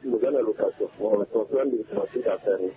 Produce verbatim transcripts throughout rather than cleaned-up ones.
ti mo za na location. Bon, ton so ande mo ti ka faire ni.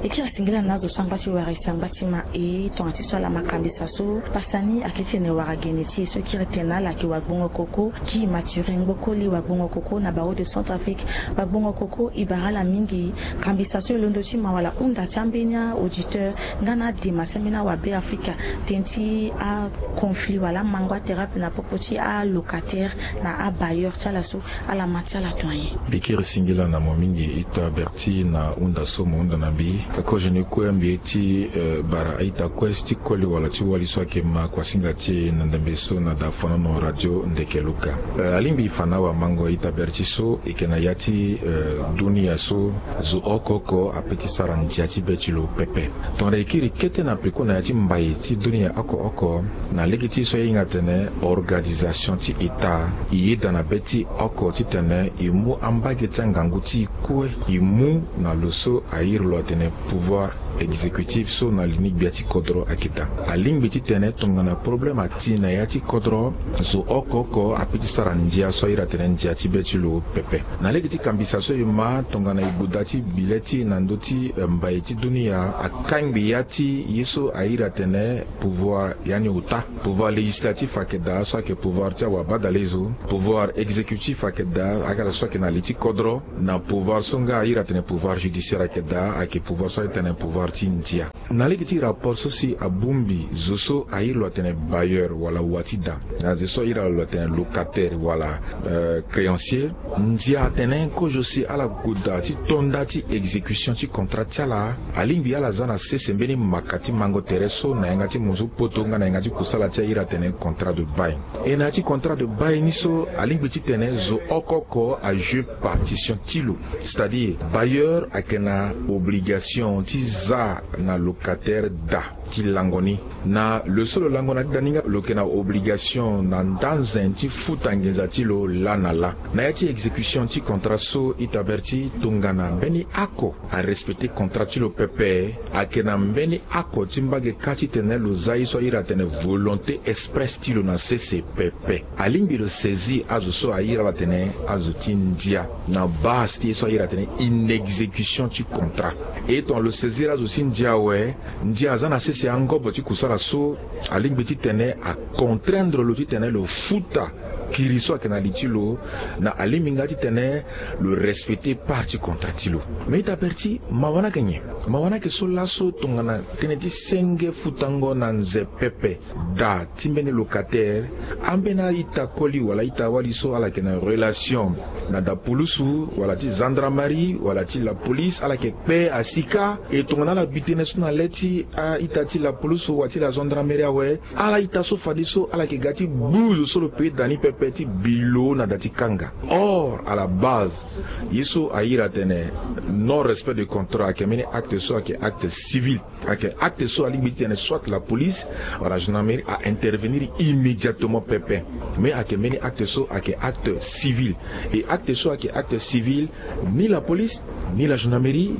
E kiri singila na azo so angba ti wara e si angba ti ma e tongana ti so ala ma kambisa so pasa ni akiri ti tene wara gene ti e so kiri tene ala yeke wagbongo koko. Guy Mathurin Ngbokoli, wagbongo koko na barreau de Centrafrique. Wagbongo koko e bara ala mingi. Kambisa so e londo ti ma wala hunda ti ambeni auditeur nga na adema ti ambeni awabe afrika, tënë ti aconflit wala amango atere ape na popo ti alocataire na abailleur ti ala so. Ala ma ti ala tonga nyen? Mbi kiri singila na mo mingi ita berti na hunda so mo hunda na mbi. Kozo ni kue mbi ye ti bara a-ita kue si ti koli wala ti wali so ayeke ma kuasinga ti e na ndembe so na dafonono radio ndeke luka. Alingbi e fa na awamango ita berti so e yeke na ya ti dunia so zo oko oko ape ti sara ndia ti be ti lo pepe. Tongana e kiri kete na peko na ya ti mbai ti dunia oko oko, na lege ti so ahinga atene organisation ti eta, e yeda na be ti oko titene e mu ambage ti angangu ti e kue e mu na lo so a iri lo atene pouvoir exécutif so na li ni gbia ti kodro ayeke daa. Alingbi titene tongana problème ati na ya ti kodro, zo oko oko ape ti sara ndia so a iri atene ndia ti be ti lo pepe. Na lege ti kambisa so e ma tongana e goda ti bi le ti e na ndö ti mbai ti dunia, akangbi ya ti ye so a iri atene pouvoir, yani ota. Pouvoir législatif ayeke daa so ayeke pouvoir ti awabadalezo. Pouvoir exécutif ayeke daa, ayeke ala so ayeke na li ti kodro. Na pouvoir so nga a iri atene pouvoir judiciaire ayeke daa, ayeke pouvoir so aye tene pouvoir ti ndia. Na lege ti rapport so si abongbi zo so aye lo atene bailleur wala wa ti da, na zo so aye lo atene locataire wala créancier, ndia atene kozo si ala goda ti tonda ti exécution ti contrat ti ala, alingbi ala za na sese mbeni maka ti mango tere so na yanga ti munzu poto nga na yanga ti kusala ti aye lo atene contrat de bail. E na ya ti contrat de bail ni so alingbi titene zo oko oko ajouer partition ti lo. C'est-à-dire bailleur ayeke na obligation ti za na locataire da ti lango ni. Na lo so lo lango na ti da ni nga lo yeke na obligation na nda zen ti futa nginza ti lo laa na laa. Na ya ti exécution ti contrat so ita Berti, tongana mbeni oko arespecter contrat ti lo pepe, ayeke na mbeni oko ti mbage kâ titene lo za ye so aye lo atene volonté expresse ti lo na sese pepe. Alingbi lo saisir azo so aye lo atene azo ti ndia na base ti ye so aye lo atene inexécution ti contrat. E tongana lo saisir azo ti ndia awe, ndia aza na sese angobo ti kusala so alingbi titene acontraindre lo titene lo futa kiri so ayeke na li ti lo, na alingbi nga titene lo respecter part ti contrat ti lo. Mais ita Berti, mawa ni ayeke nyen? Mawa ni ayeke so laso tongana tënë ti senge futango na nze pepe, da ti mbeni locataire, ambeni a-ita koli wala a-ita wali so ala yeke na relation na da pulusu wala ti gendarmerie wala ti la police, ala yeke kpe asi kâ. E tongana ala bi tënë so na le ti a-ita ti la pulusu wala ti la gendarmerie awe, ala ita so fadeso ala yeke ga ti gbu zo so lo pe da ni pepe ti bi lo na da ti kanga. Or à la base, ye so aye lo atene non respect de contrat ayeke mbeni acte so ayeke acte civil. Ayeke acte so alingbi titene soit la police wala gendarmerie aintervenir immédiatement pepe. Mais ayeke mbeni acte so ayeke acte civil. E acte so ayeke acte civil, ni la police ni la gendarmerie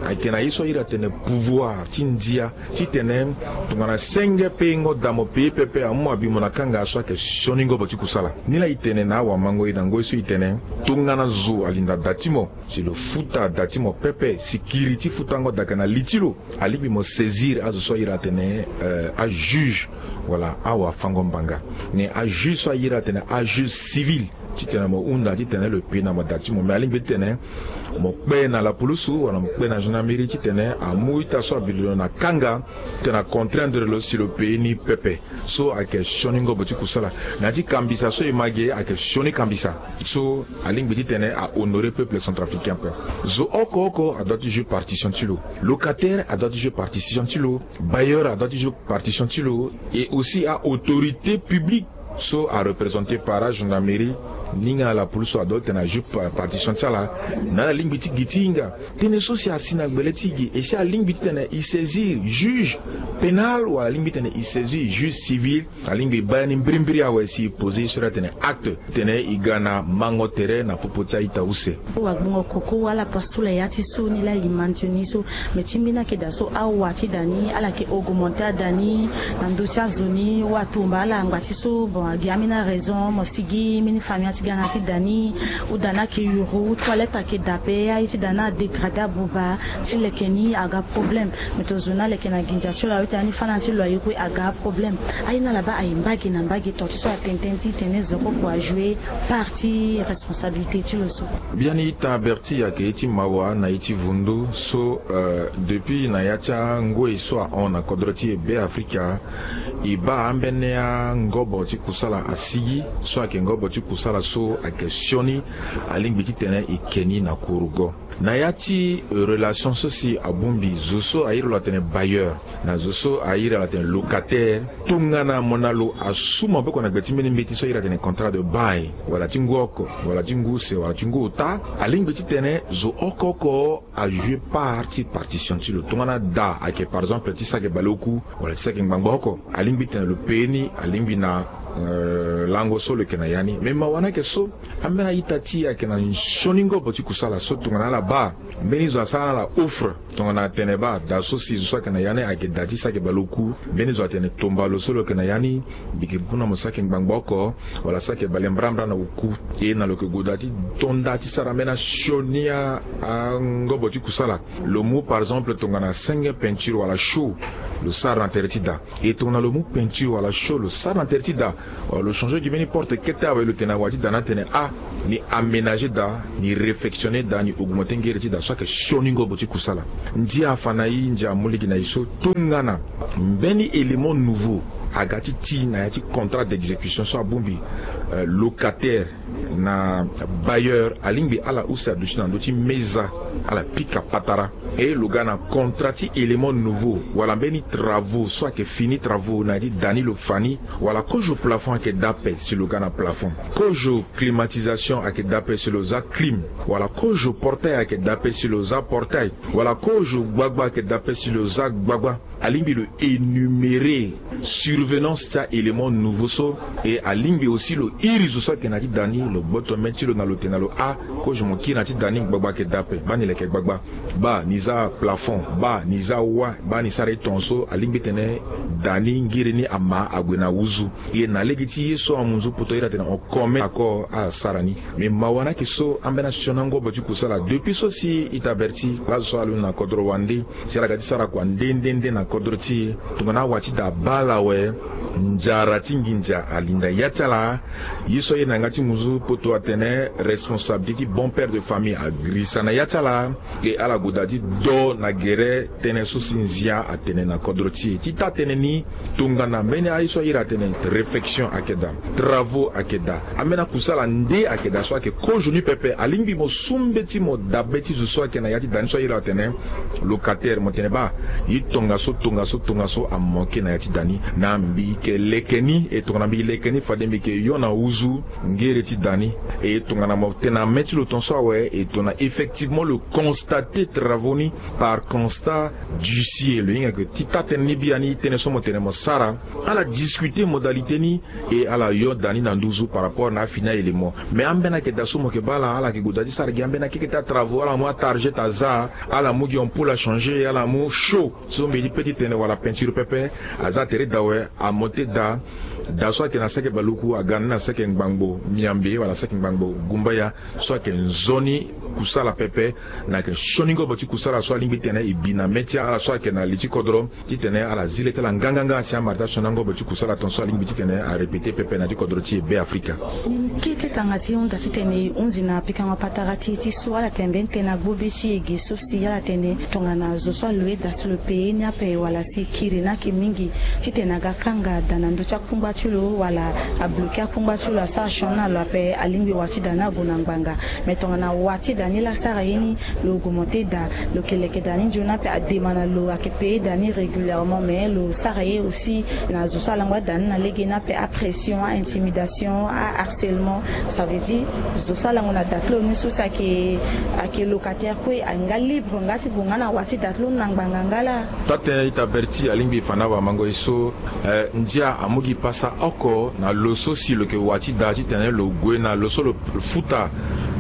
ayeke na ye so aye lo atene pouvoir ti ndia titene tongana senge peyengo da mo pe ye pepe, amu abi mo na kanga so ayeke sioni ngobo ti kusala. Ni laa e tene na awamango e na ngoi so e tene, tongana zo alinda da ti mo, si lo futa da ti mo pepe, si kiri ti futango da ayeke na li ti lo, alingbi mo saisir azo so aye lo atene ajuge wala awafango-mbanga. Mais ajuge so aye lo atene ajuge civil, titene mo hunda titene lo pe na mo da ti mo. Mais alingbi titene mo kpe na la pulusu wala mo kpe na gendarmerie titene amu ita so abi lo na kanga, titene acontraindre lo si lo pe ye ni pepe. So ayeke sioni ngobo ti kusala. Na ya ti kambisa so e ma ge ayeke sioni kambisa. So alingbi titene ahonorer peuple centrafricain ape. Zo oko oko adoit ti jouer partition ti lo. Locataire adoit ti jouer partition ti lo. Bailleur adoit ti jouer partition ti lo. Et aussi a-autorité publique so areprésenter par agendarmerie ni nga la police so adoit titene ajouer partition ti ala. Na ala lingbi ti gi ti hinga tënë so si asi na gbele ti gi, e si alingbi titene e saisir juge pénal wala alingbi titene e saisir juge civil, alingbi e baa ya ni mbirimbiri awe si e poser ye so iri atene acte titene e ga na mango tere na popo ti a-ita use. Wagbongo koko ala paso la ya ti so ni laa e mentionner so. Mais ti mbeni ayeke daa so awa ti daa ni ala yeke augmenter adaa ni na ndö ti azo ni. Atumba ala ngba ti so, bon, agi ambeni araison mo sigi mbeni famille ti ga na ya ti daa ni. Ou daa ni ayeke yuru, toilette ayeke daa ape, aye ti daa ni adégrader abuba. Ti leke ni aga problème. Mais tozo ni aleke na ginza ti lo awe ti daa ni fâ na ya ti lo aye kue aga problème. Aye ni ala baa aye mbage na mbage, tonga ti so atene tënë ti tene zo kue kue ajouer part ti responsabilité ti lo so. Biani ita Berti, ayeke ye ti mawa na ye ti vundu so, euh, depuis na ya ti angoi so ahon na kodro ti e Be Afrika, e baa ambeni angobo ti kusala asigi, so ayeke ngobo ti kusala so ayeke sioni, alingbi titene e ke ni na kurugo. Na ya ti relation so si abongbi zo so a iri lo atene bailleur na zo so a iri lo atene locataire, tongana mo na lo asu maboko na gbe ti mbeni mbeti so a iri atene contrat de bail, wala ti ngu oko, wala ti ngu use, wala ti ngu ota, alingbi titene zo oko oko ajouer part ti partition ti lo. Tongana da ayeke par exemple ti saki baleoku, wala ti saki ngbangba oko, alingbi titene lo pe ye ni, alingbi na, euh, lango so lo yeke na ya ni. Mais mawa ni ayeke so, ambeni a-ita ti e ayeke na nsioni ngobo ti kusala so tongana ala baa mbeni zo asara na ala offre, tongana atene baa da so si zo so ayeke na ya ni ayeke da ti saki baleoku, mbeni zo atene tomba lo so lo yeke na ya ni, mbi yeke mu na mo saki ngbangba oko, wala saki bale mbrambra na oku. E na lo yeke goda ti tonda ti sara ambeni asioni a, angobo ti kusala. Lo mu par exemple tongana senge peinture wala show, lo sara na tere ti da. E tongana lo mu peinture wala show lo sara na tere ti da, wala lo changer gi mbeni porte kete awe, lo tene awa ti da ni atene ah, ni aménager da, ni réfectionner da, ni augmenter ngere ti da so ayeke sioni ngobo ti kusala. Ndia afa na e, ndia amu lege na e so tongana mbeni élément nouveau aga ti ti na ya ti contrat d'exécution so abongbi, euh, locataire na bailleur, alingbi ala use aduti na ndö ti meza, ala pika patara. E lo ga na contrat ti élément nouveau wala mbeni travaux so ayeke fini travaux na ya ti da ni lo fa ni, wala kozo plafond ayeke da ape si lo ga na plafond, kozo climatisation ayeke da ape si lo za clim, wala kozo portail ayeke da ape si lo za portail, wala kozo gbagba ayeke da ape si lo za gbagba. Alingbi lo énumérer survenance ti a-élément nouveau so. E alingbi aussi lo iri zo so ayeke na ya ti da ni, lo gboto mê ti lo na lo tene na lo: a, kozo mo kiri na ya ti da ni, gbagba ayeke da ape, baa ni leke gbagba, baa ni za plafond, baa ni za wâ, baa ni sara e tongaso. Alingbi tene da ni ngiri ni ama ague na wuzu. E na lege ti ye so amu nzu poto iri atene on commun accord ala sara ni. Me mawa ni ayeke so ambeni asioni angobo ti kusala depuis so si ita Berti, laso so alondo na kodro wande, si ala ga ti sara kua nde nde nde na kodro ti e. Tongana awa ti da abaa ala awe, nzara ti nginza alinda ya ti ala. Ye so aye na yanga ti ngunzu poto atene responsabilité ti bon père de famille agirisa na ya ti ala. E ala gue daa ti do na gere tënë so si nzia atene na kodro ti e. Ti taa tënë ni, tongana mbeni aye so aye iri atene réfection ayeke daa, travaux ayeke daa, ambeni akusala nde ayeke daa so ayeke kozo ni pepe, alingbi mo su mbeti mo dabe ti zo so ayeke na ya ti da ni so aye iri atene locataire, mo tene baa, ye tongaso tongaso tongaso amanke na ya ti da ni. Na mbi yeke leke ni, e tongana mbi leke ni fade mbi yeke yo na wuzu ngere ti da ni. E tongana mo tene na mê ti lo tongaso awe, e tongana effectivement lo constate travaux ni par constat d'huissier, lo hinga ke ti taa tënë ni biani, tënë so mo tene mo sara, ala discuter modalité ni. E ala yo da ni na nduzu par rapport na afini a-élément. Mais ambeni ayeke daa so mo yeke baa ala, ala yeke gue daa ti sara gi ambeni akeke ti atravaux, ala mu atargette aza, ala mu gi ampoule achanger, ala mu chaud so mbi ye ti pe ti tene, wala peinture pepe. Aza tere daa awe, amonte daa. Da so ayeke na seke baluku aga ni na seke ngbangbo miambe wala seke ngbangbo gumbaya, so ayeke nzoni kusala pepe. Na yeke sioni ngobo ti kusala so alingbi titene e bi na mê ti ala so ayeke na li ti kodro, titene ala zi le ti ala nganganga si amara ti asioni angobo ti kusala tongaso alingbi titene arépéter pepe na ti kodro ti e Be Afrika. Kete tanga ti hunda titene e hunzi na pikango patara ti e ti so ala tene mbeni tënë na gbu be ti e ge so si ala tene tongana zo so aloue da ti lo payer ni ape wala si kiri ni ayeke mingi, titene aga kanga da na ndö ti akungba ti lo wala abloquer akungba ti lo, asara sioni na lo ape, alingbi wa ti da ni ague na ngbanga. Mais tongana wa ti da ni laa asara ye ni, lo augmenter da, lo yeke leke da ni nzoni ape, adema na lo ayeke payer da ni régulièrement, mais lo sara ye aussi na zo so alango ada ni na lege ni ape, apression, aintimidation, aharcèlement. Ça veut dire zo so alango na da ti lo ni so si ayeke, ayeke locataire kue, ahinga libre nga ti gue nga na wa ti da ti lo ni na ngbanga nga laa. Taa tënë ita Berti alingbi e fa na awamango e so, eh, ndia amu gi pasa oko na lo so si lo yeke wa ti da titene lo gue na lo so lo futa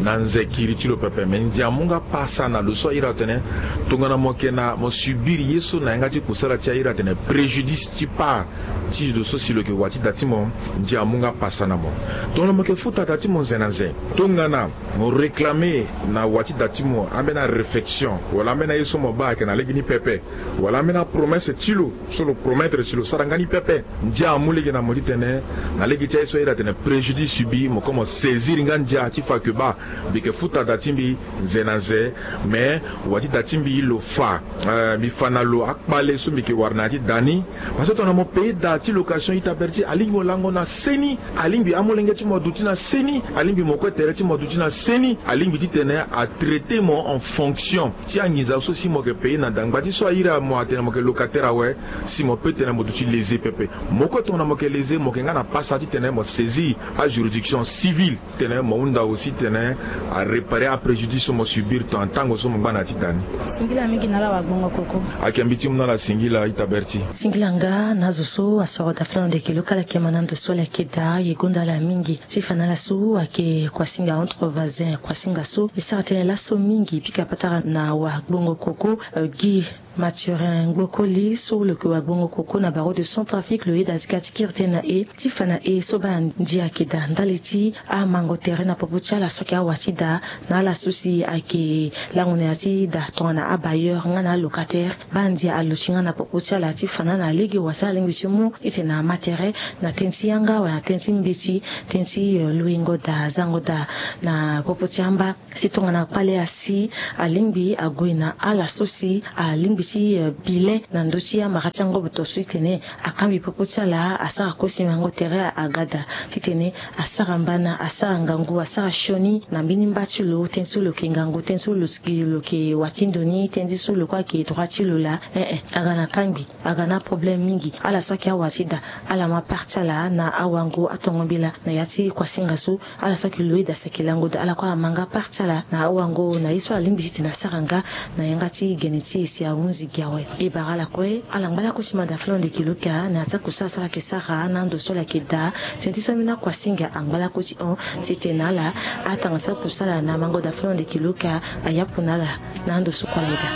na nze kiri ti lo pepe. Me ndia amu nga pasa na lo so airi atene tongana mo yeke na, mo subir ye so na yanga ti kusala ti airi atene préjudice ti part ti lo so si lo yeke wa ti da ti mo, ndia amu nga pasa na mo. Tongana mo yeke futa da ti mo nze na nze, tongana mo réclamer na wa ti da ti mo ambeni aréflexion wala ambeni aye so mo baa ayeke na lege ni pepe, wala ambeni apromesse ti lo so lo promettre si lo sara nga ni pepe, ndia amu lege na mo titene na lege ti aye so airi atene préjudice subi, mo kue mo saisir nga ndia ti fa ke baa, mbi yeke futa da ti mbi nze na nze, mais wa ti da ti mbi lo fa, eh, mbi fa na lo akpale so mbi yeke wara na ya ti da ni. Parce que tongana mo payer da ti location, ita Berti, alingbi mo lango na seni, alingbi amolenge ti mo aduti na seni, alingbi mo kue tere ti mo aduti na seni, alingbi titene atraiter mo en fonction ti anginza so si mo yeke payer na da. Ngba ti so airi mo atene mo yeke locataire awe, si mo peut tene mo duti lésé pepe. Mo kue tongana mo yeke lésé, mo yeke nga na pasa titene mo saisir ajuridiction civile titene mo hunda aussi titene aréparer apréjudice so mo subir tongana tango so mo ngba na ya ti da ni. Singila mingi na ala wagbongo koko. Ayeke mbi ti mu na ala singila, ita Berti. Singila nga na azo so asoro da fula na ndeke lo kala yeke ma na ndo so ala yeke daa, e gonda ala mingi. Ti fa na ala so ayeke kuasinga entre voisins, kuasinga so e sara tënë laso mingi. Pika patara na wagbongo koko, eh, gi Mathurin Gbokoli so lo yeke wagbongo koko na barreau de Centrafrique, lo yeda ti ga ti kiri tënë na e ti fa na e so baa ndia ayeke daa ndali ti amango tere na popo ti ala so ayeke awa ti daa, na ala so si ayeke lango na ya ti daa tongana abailleur nga na alocataire. Baa ndia alosi nga na popo ti ala ti fa na ala lege wala si alingbi ti mu ite na ama tere na tënë ti yanga wala na tënë ti mbeti, tënë ti, eh, luingo daa, zango daa na popo ti amba. Si tongana kpale asi alingbi ague na ala so si alingbi ti, eh, bilet na ndö ti amara ti angoboto so ti tene akangbi popo ti ala, asara kosi mango tere, aga daa ti tene asara mbana, asara ngangu, asara sioni na mbeni mba ti lo, tënë so lo yeke ngangu, tënë so lo yeke, lo yeke wa ti ndo ni, tënë ti so lo kue ayeke droit ti lo laa. Eh eh, aga na kangbi, aga na aproblème mingi. Ala so ayeke awa ti daa, ala ma part ti ala na awango atongo mbela na ya ti kuasinga so. Ala so ayeke lo yeda si ayeke lango daa, ala kue ama nga part ti ala na awango na ye so alingbi ti tene asara nga na yanga ti gene ti e si ahunzi gi awe. E bara ala kue, ala ngba lakue ti manda flon de kiloka na ya ti akusala so ala yeke sara na ando so ala yeke daa. Tënë ti so ambeni akuasinga angba lakue ti hon ti tene na ala atanga ti akusala na mango daa flon de kiloka ayapu na ala na ando so kue ala yeda.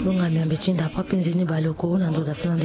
Longami ambe ti nda ape nzeni baleoko na ndo daa flon de